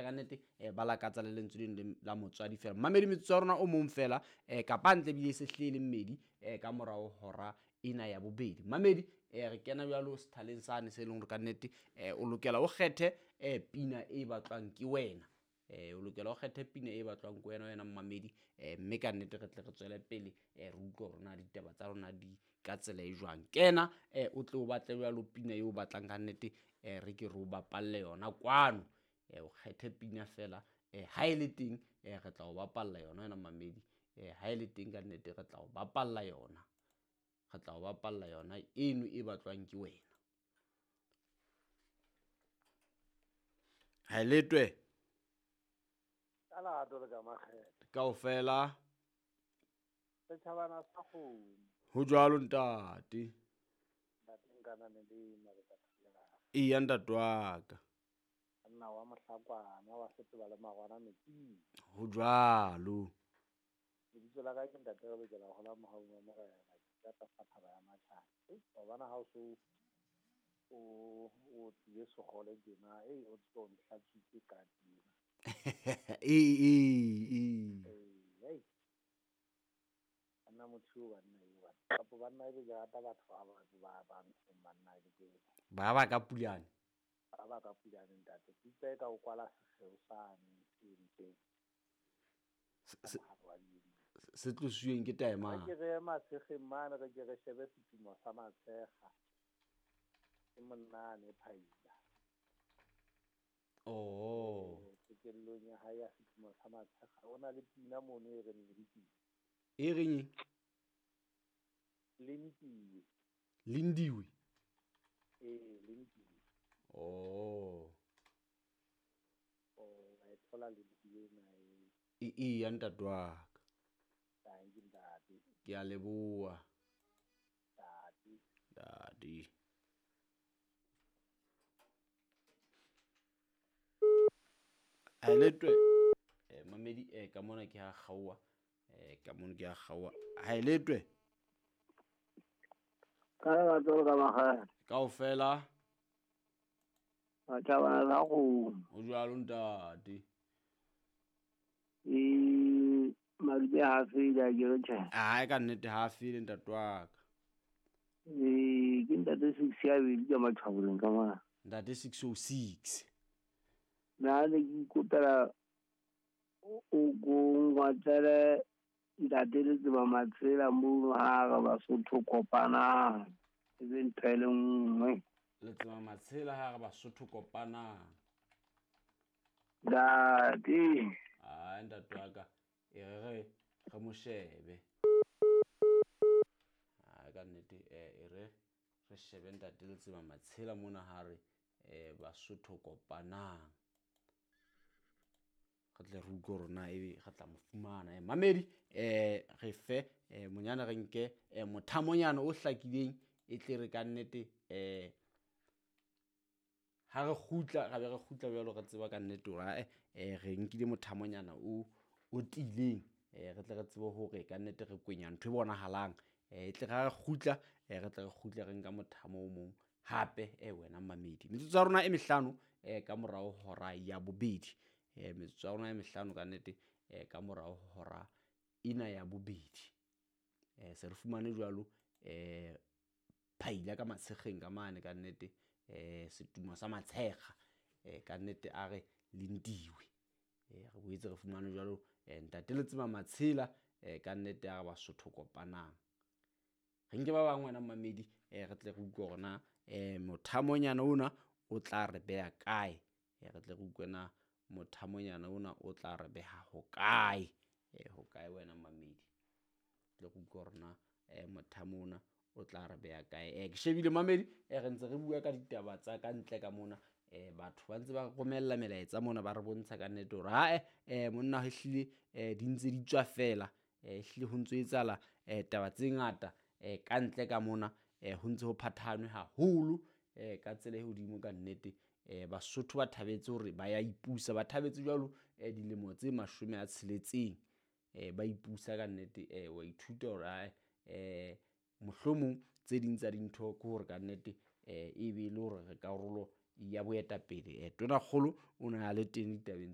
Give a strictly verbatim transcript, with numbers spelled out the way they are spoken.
bangata ka nnete eh, ba lakatsa le lentswe leno la motswadi fela. Mamedi metsotso ya rona o mong fela eh, kapa ntle ebile e se hlile le mmedi eh, ka morao hora ena ya bobedi. Mamedi eh, re kena jwalo sethaleng sane se leng hore ka nnete eh, o lokela o kgethe eh, pina e batlwang ke wena. Eh, o lokela o kgethe pina e batlwang ke wena wena mmamedi eh, mme ka nnete re tle re tswele pele eh, re utlwe hore na ditaba tsa rona di ka tsela e jwang. Kena eh, o tle o batle jwalo pina eo o batlang ka nnete eh, re ke re o bapalle yona kwano. Eh, o kgethe pina fela eh, ha e le teng eh, re tla o bapalla yona wena mmamedi eh, ha e le teng ka nnete re tla o bapalla yona. Re tla o bapalla yona eno e batlwang ke wena. Ha e letwe. Ka lerato le ka makgethe. Kaofela. Setjhabana sa kgomo. Ho jwalo ntate. Ntate Nkanane le Mabeta. Eya ntate wa ka. Monna wa Mohlakwana wa Setoba le Magwana metsing. Ho jwalo. Lebitso la ka ke ntate re lokela ho hola mohaung wa Morena. Ke tlasa thaba ya Matjhana. Wa bona ha o so o o tlile segole tjena, ei o tlo ntlhatswitse ka tjena. Ee ee ee. Ei. Nna motho eo banna eo banna. Kapo banna ebe ke rata batho ba ba ba ba ntsheng banna ke ke. Ba ba ka pulane. Ba ba ka pulane ntate. Ke utlwa eka o kwala sekgeo sane se entseng. Se se tlosweng ke taemane. Re ke re ye Matshekgeng mane re ke re shebe setumo sa Matshekga. Ke monna ane Phaila. Oh. Qetellong ya hae ya setumo sa Matshekga. O na le pina mono e reng Lindiwe. E reng? Lindiwe. Lindiwe. Eh, Lindiwe. Oh. Oh, wa e thola Lindiwe ena e. E e ya ntate wa ka. Thank you ntate. Ke a leboha. Ntate. Ntate. Haeletwe eh mamedi eh ka mona ke ha kgaowa eh ka mona ke ha kgaowa. Haeletwe. Ka lerato le ka makgethe. Kaofela. Batjhabana sa kgomo. Ho jwalo ntate. E madume ha fele a ke re tjhe. Ai ka nnete ha fele ntate wa ka. E ke ntate six ya bedi ka Matjhaboleng ka mona. Ntate six oh six. Nna ne ke ikopela o ko ngwatlele ntate Letsema Matshela mono ha re Basotho kopanang. E be ntho e le nngwe. Letsema Matshela ha re Basotho kopanang. Ntate. Ai ntate wa ka e re re re mo shebe. Ai ka nnete e re re shebe ntate Letsema Matshela mona ha re eh Basotho kopanang. Re tle re utlwe hore na ebe re tla mo fumana. Mamedi eh re fe eh monyana re nke eh mothamonyana o hlakileng e tle re ka nnete eh ha re kgutla ra be re kgutla jwalo re tseba ka nnete hore eh re nkile mothamonyana o o tiileng eh re tle re tsebe hore ka nnete re kwenya ntho e bonahalang eh e tle ra re kgutla eh re tle re kgutle re nka mothamo o mong hape eh wena mamedi. Metsotso ya rona e mehlano eh ka morao hora ya bobedi. Eh metsotso ya rona e mehlano ka nnete eh ka morao hora ena ya bobedi. Eh se re fumane jwalo eh Phaila ka Matshekgeng ka mane ka nnete eh setumo sa Matshekga eh ka nnete a re Lindiwe. Eh re boetse re fumane jwalo eh ntate Letsema Matshela eh ka nnete a re Basotho kopanang. Re nke ba bang wena mamedi eh re tle re utlwe hore na eh mothamonyana ona o tla re beha kae. Eh re tle re utlwe na mothamonyana ona o tla re beha ho kae. Eh ho kae wena mamedi. Tle re utlwe hore na eh mothamo ona o tla re beha kae. Eh ke shebile mamedi eh re ntse re bua ka ditaba tsa ka ntle ka mona eh batho ba ntse ba romella melaetsa mona ba re bontsha ka nnete hore ha eh monna ho hlile eh di ntse di tswa fela eh hlile ho ntse etsahala eh taba tse ngata eh ka ntle ka mona eh ho ntse ho phathanwe haholo eh ka tsela e hodimo ka nnete eh Basotho ba thabetse hore ba ya ipusa ba thabetse jwalo eh dilemo tse mashome a tsheletseng eh ba ipusa ka nnete eh wa ithuta hore ha eh mohlomong tse ding tsa dintho ke hore ka nnete eh e be le hore re karolo ya boetapele. Eh Tonakgolo o na le teng ditabeng